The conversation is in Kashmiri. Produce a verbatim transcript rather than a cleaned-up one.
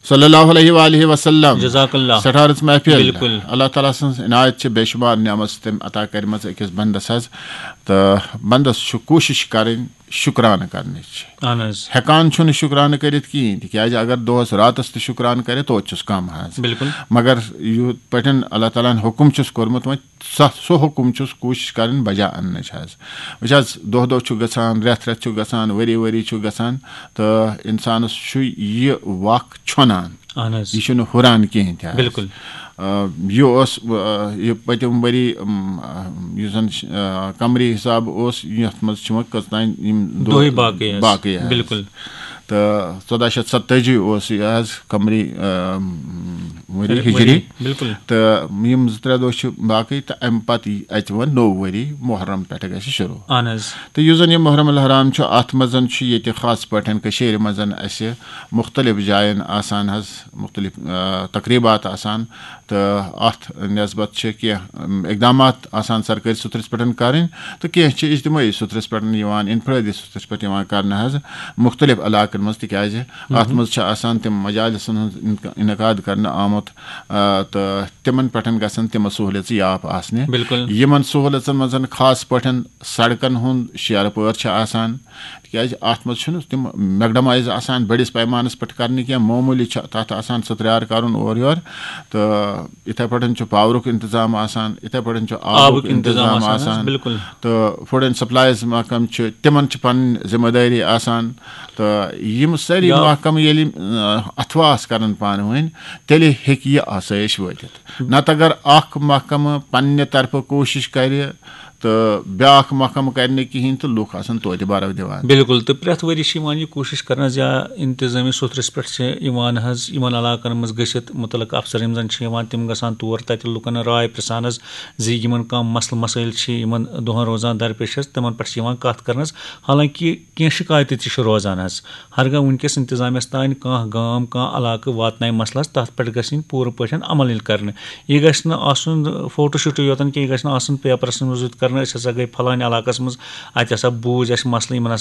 صلی اللہ علیہ وآلہ وسلم۔ جزاک اللہ۔ سٹھارس محفل۔ بالکل۔ اللہ تعالیٰ سٕنٛز عنایت چھِ بے شمار نعمت تٔمۍ عطا کٔرمٕژ أکِس بندس حظ۔ تہٕ بندس چھُ کوٗشش کرٕنۍ شُکرانہٕ کرنٕچ۔ اہن حظ۔ ہٮ۪کان چھُنہٕ شُکرانہٕ کٔرِتھ کِہیٖنۍ، تِکیٛازِ اگر دۄہس راتس تہِ شُکرانہٕ کرِ، توتہِ چھُس کم حظ۔ بالکل۔ مگر یِتھ پٲٹھۍ اللہ تعالیٰ ہن حُکم چھُس کوٚرمُت، وۄنۍ سۄ سُہ حُکم چھُس کوٗشِش کرٕنۍ بجا اننٕچ حظ۔ وٕچھ حظ، دۄہ دۄہ چھُ گژھان، رٮ۪تھ رٮ۪تھ چھُ گژھان، ؤری ؤری چھُ گژھان، تہٕ انسانس چھُ یہِ وق ژھۄنان۔ اہن حظ۔ یہِ چھُنہٕ ہُران کِہیٖنۍ تہِ حظ۔ بالکل۔ آ، یہِ اوس، آ، یہِ پٔتِم ؤری، ام، آ، یُس زن، آ، قمری حساب اوس، یتھ منٛز چھِ وۄنۍ کٔژتام یِم دۄہ دۄہٕے باقٕے حظ۔ باقٕے حظ۔ بالکل۔ تہٕ ژۄداہ شیٚتھ ستٲجی اوس یہِ حظ قمری، آ، ؤری ؤری، ہجری۔ بالکل۔ تہٕ یِم زٕ ترٛےٚ دۄہ چھِ باقٕے، تہٕ امہِ پتہٕ یی اَتہِ وۄنۍ نوٚو ؤری، محرم پٮ۪ٹھٕ گژھِ شروع۔ اہن حظ۔ تہٕ یُس زن یہِ محرم الحرام چھُ، اتھ منٛز چھُ ییٚتہِ خاص پٲٹھۍ کٔشیٖرِ منٛز اسہِ مُختٔلِف جاین آسان حظ، مُختٔلِف، آ، تقریٖبات آسان، تہٕ اتھ نسبت چھِ کینٛہہ، ام، اقدامات آسان سرکٲرۍ سطرس پٮ۪ٹھ کرٕنۍ، تہٕ کینٛہہ چھِ اجتمٲعی سطرس پٮ۪ٹھ یِوان، انفرٲدی سطرس پٮ۪ٹھ یِوان کرنہٕ حظ مُختٔلِف علاقن منٛز، تِکیازِ اتھ منٛز چھِ آسان تِم مجالسن ہُنٛد انق-، انعقاد کرنہٕ آمُت، آ، تہٕ تِمن پٮ۪ٹھ گژھن تِم سہوٗلیژٕ یاپ آسنہِ۔ بالکل۔ یِمن سہوٗلیژن منٛز خاص پٲٹھۍ سڑکن ہُنٛد شیرٕ پٲر چھِ آسان، تِکیازِ اتھ منٛز چھُنہٕ تِم میکڈمائز آسان بٔڑِس پیمانس پٮ۪ٹھ کرنہٕ کینٛہہ، معموٗلی چھُ تتھ آسان سترار کرُن اورٕ یورٕ، تہٕ یِتھے پٲٹھۍ چھُ پاورُک انتظام آسان، یِتھے پٲٹھۍ چھُ آبُک آبُک انتظام انتظام آسان حظ، آسان، بالکل۔ تہٕ فوڈ اینڈ سپلائز محکمہٕ چھُ، تِمن چھِ پنٕنۍ ذمہ دٲری آسان، تہٕ یِم سٲری یا- محکمہٕ ییٚلہِ، آ، اتھواس کرن پانہٕ ؤنۍ، تیٚلہِ ہیٚکہِ یہِ آسٲیِش وٲتِتھ۔ نتہٕ اگر اکھ محکمہٕ پننہِ طرفہٕ کوٗشش کرِ تہٕ بیٛاکھ محکمہٕ کرِ نہٕ کِہینۍ، تہٕ لُکھ آسن توتہِ برو دِوان۔ بالکل، تہٕ پرٛٮ۪تھ ؤری چھِ یِوان یہِ کوٗشِش کرنہٕ زِ یا انتظٲمی سُتھرس پٮ۪ٹھ چھِ یِوان حظ، یِمن علاقن منٛز گٔژھِتھ مُتعلقہٕ افسر یِم زن چھِ یِوان، تِم گژھان تور، تتہِ لُکن راے پرژھان حظ زِ یِمن کانٛہہ مسلہٕ مسٲیل چھِ یِمن دۄہن روزان درپیش حظ، تِمن پٮ۪ٹھ چھِ یِوان کتھ کرنس۔ حالانکہ کینٛہہ شکایتہٕ تہِ چھِ روزان حظ۔ ہرگاہ وٕنکیٚس انتظامیہس تانۍ کانٛہہ گام، کانٛہہ علاقہٕ واتنایہِ مسلس، تتھ پٮ۪ٹھ گژھِ یِنۍ پوٗرٕ پٲٹھۍ عمل یِنۍ کرنہٕ۔ یہِ گژھِ نہٕ آسُن فوٹو شوٗٹٕے یوتن کینٛہہ، یہِ گژھِ نہٕ آسُن پیپرس منٛز یُتھ کرنہٕ، أسۍ ہسا گٔے فلٲنۍ علاقس منٛز، اتہِ ہسا بوٗز اسہِ مسلہٕ، یِمن ہسا